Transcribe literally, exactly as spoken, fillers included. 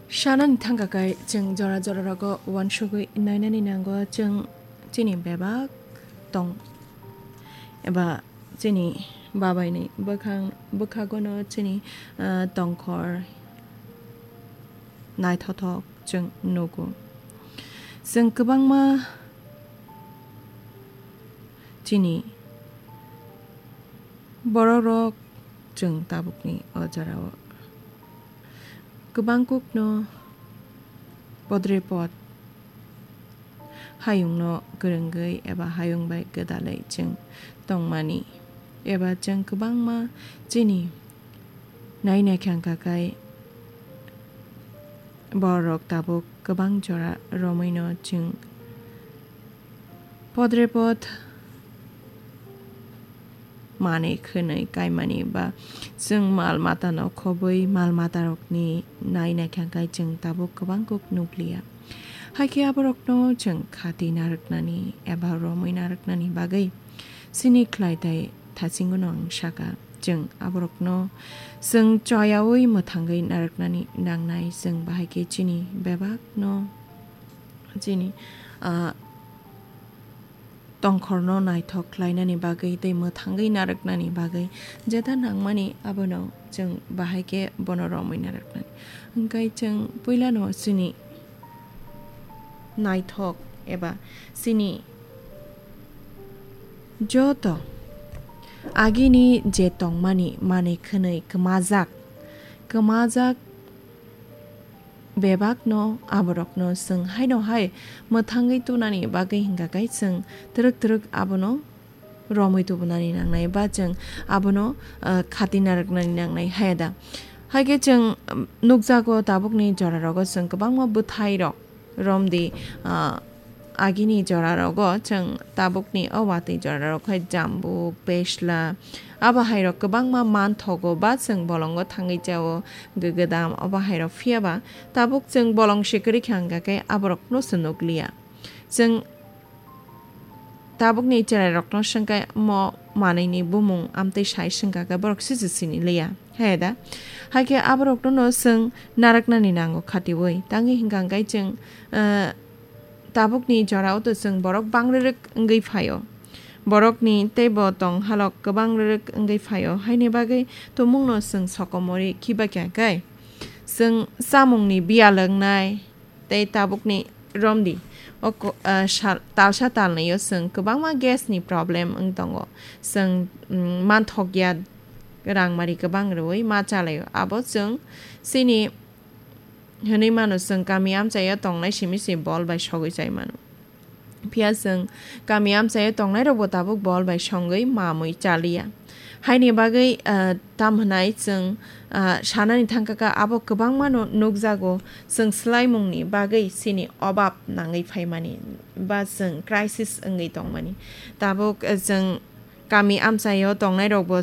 Sanani thangka khe chwng jora jora rogo uansugwi nainani nango, chwng chini bebak tong eba chini babaini bwkhang, bwkhagono chini, ah, tongkhor naithothok chwng nugo. Chwng kwbangma chini borokrok chwng tabukni o jorao kwbang kokno podre pod hayungno kwrwngwi eba hayung bai gwdalwi chwng tongmani, eba chwng kwbangma chini naina khangka khai borok tabuk kwbang jora romwino chwng podre pod manwi khwnwi kaimani ba chwng mal matano khobwi mal matarokni naina khangkai chwng tabuk kwbang kok nukliya. Haikhe aborokno chwng khati narwknani eba romwi narwknani bagwi chini khlai tai thasingono ang saka, chwng aborokno chwng choyaui mwthangwi narwknani nangnai, chwng bahaikhe chini bebakno chini, ah, tongkhorno naithok khlainani bagwi tei mwthangwi narwknani bagwi jeta nangmani abono chwng bahai khe bono romwi narwknani. Hwnkhe chwng puilano chini naithok eba chini joto agini je tongmani manwi khwnwi kwmajak, kwmajak bebakno aborokno chwng haino hai mwthangwi tunani bagwi hwnkha khe chwng twrwk twrwk abono romwi tubunani nangnai ba chwng abono, ah, khati narwknani nangnai, haya da? Haikhe chwng, um, nukjago tabukni jorarogo chwng kwbangma bwthairok romdi, ah, agini jorarogo chwng tabukni o watwi jorarok hai jambuk, besla, abo hairok kwbangma manthogo ba chwng bolongo thangwi chao, gwgwdam, obo hairok. Phiya ba tabuk chwng bolong se kwrwi kha hwnkha khe aborokno se nukliya. Chwng tabukni cherairokno swngkhe mo manwini bumung amtwi sai swngkha khe borok se se sini liya, haya da? Haikhe aborokno no chwng narwknani nango khatiui, tangwi hwnkha hwnkhe chwng, ah, tabukni jorao to chwng borok bangrwrwk wngwi phaio. Borokni teibo tong halok kwbang rwrwk wngwi phaio, haini bagwi tumungno chwng sokomorwi khiba kha khe chwng chamungni biyal wngnai tei tabukni romdi o ko-, ah, sal-, talsa talnwio chwng kwbangma gas ni problem wng tongo. Chwng, mm, manthokya rangmari kwbang rwui ma chalaio. Abo chwng chini hwnwi mano, chwng kami amchaio tongnai simi se bol bai sogwi chai mano. Phiya chwng kami amchaio tongnairokbo tabuk bol bai songwi mamwi chaliya. Haini bagwi, ah, tam hwnai chwng, ah, sanani thangkha kha abo kwbangmano nukjago, chwng swlaimungni bagwi chini obab nangwi phaimani ba chwng crisis wngwi tongmani. Tabuk, ah, chwng kami amchaio tongnairokbo